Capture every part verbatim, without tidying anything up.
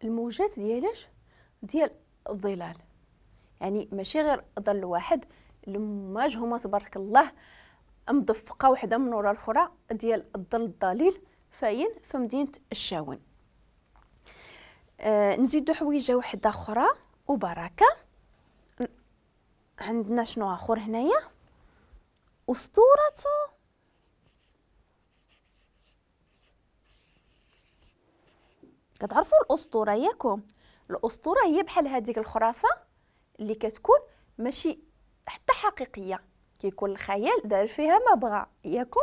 الموجات ديالاش؟ ديال الظلال، يعني ماشي غير ظل واحد، المواج هما تبارك الله مدفقه وحده من وراء الاخرى ديال الظل الضليل فاين في مدينة الشاون. آه نزيدو حويجه وحده اخرى وبركة. عندنا شنو اخر هنايا؟ اسطورة كتعرفوا الاسطورة ياكم؟ الاسطورة هي بحال هذيك الخرافة اللي كتكون ماشي حتى حقيقية، كيكون الخيال دار فيها ما بغى ياكم.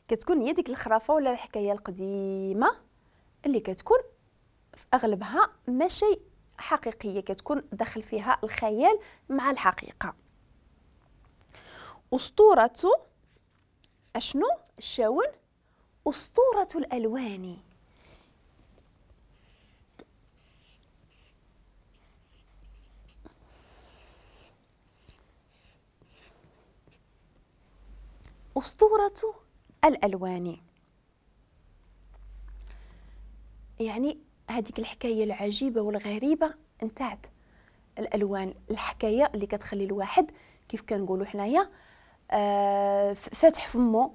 كتكون هي ديك الخرافة ولا الحكاية القديمة اللي كتكون في اغلبها ماشي حقيقية، كتكون داخل فيها الخيال مع الحقيقة. اسطورة اشنو؟ الشاون اسطورة الالوان. أسطورة الألوان، يعني هذيك الحكاية العجيبة والغريبة نتاعت الألوان، الحكاية اللي كتخلي الواحد كيف كنقولوا حنايا آه فاتح فمو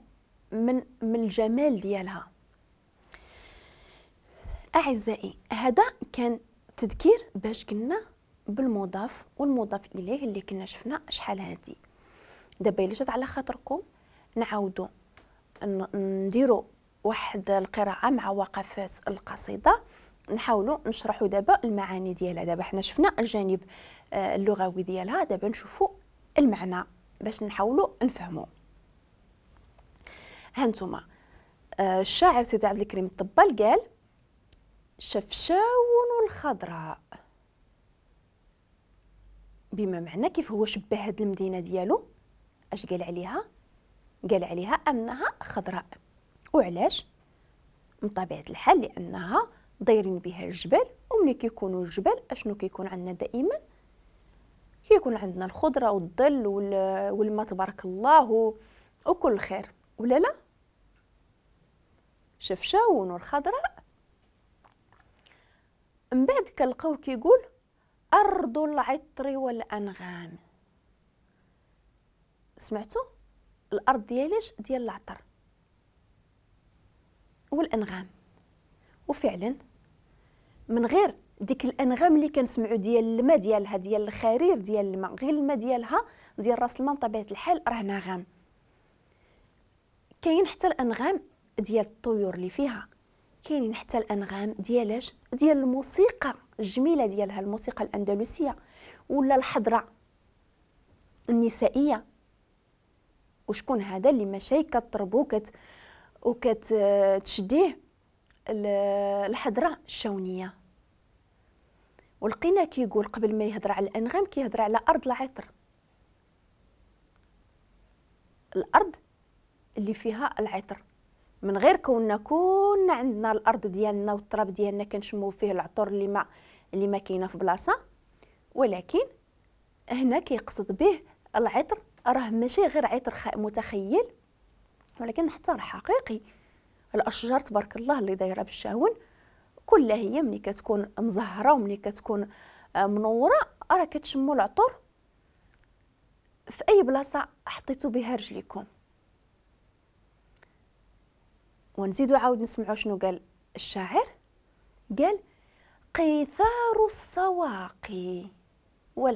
من من الجمال ديالها. أعزائي هذا كان تذكير باش قلنا بالمضاف والمضاف إليه اللي كنا شفنا شحال هادي. دابا الا جات على خاطركم نعاودو نديرو واحد القراءة مع وقفات القصيدة، نحاولوا نشرحوا دابا المعاني ديالها. دابا حنا شفنا الجانب اللغوي ديالها، دابا نشوفوا المعنى باش نحاولوا نفهموا. هانتوما الشاعر سيدي عبد الكريم الطبال قال: شفشاون الخضراء، بما معنى كيف هو شبه هاد المدينة ديالو، اش قال عليها؟ قال عليها انها خضراء. وعلاش؟ من طبيعة الحال لانها دايرين بها الجبال، وملي كيكونوا الجبال اشنو كيكون عندنا دائما؟ كيكون عندنا الخضرة والظل والماء تبارك الله وكل خير، ولا لا؟ شفشاون الخضراء. من بعد كنلقاو كيقول ارض العطر والانغام. سمعتوا؟ الارض ديالاش؟ ديال العطر والانغام. وفعلا من غير ديك الانغام اللي كنسمعوا ديال الماء ديالها، ديال الخرير ديال الماء، غير الماء ديالها ديال راس الماء بطبيعة الحال راه نغم. كاين حتى الانغام ديال الطيور اللي فيها، كاينين حتى الانغام ديالاش؟ ديال الموسيقى الجميلة ديالها، الموسيقى الاندلسيه ولا الحضرة النسائية. وشكون هذا اللي ماشي كطربو كت وكتشديه؟ الحضرة الشونيه. ولقينا كيقول قبل ما يهضر على الانغام كيهضر على ارض العطر، الارض اللي فيها العطر. من غير كوننا كنا عندنا الارض ديالنا والتراب ديالنا كنشمو فيه العطور اللي ما اللي ما كاينه في بلاصة، ولكن هنا كيقصد به العطر راه ماشي غير عطر متخيل، ولكن حتى راه حقيقي. الاشجار تبارك الله اللي دايرة بالشاون كلها هي ملي كتكون مزهره وملي كتكون منورة راه كتشموا العطور في اي بلاصة حطيتو بها رجليكم. ونزيدو عاود نسمعوا شنو قال الشاعر. قال قيثار السواقي.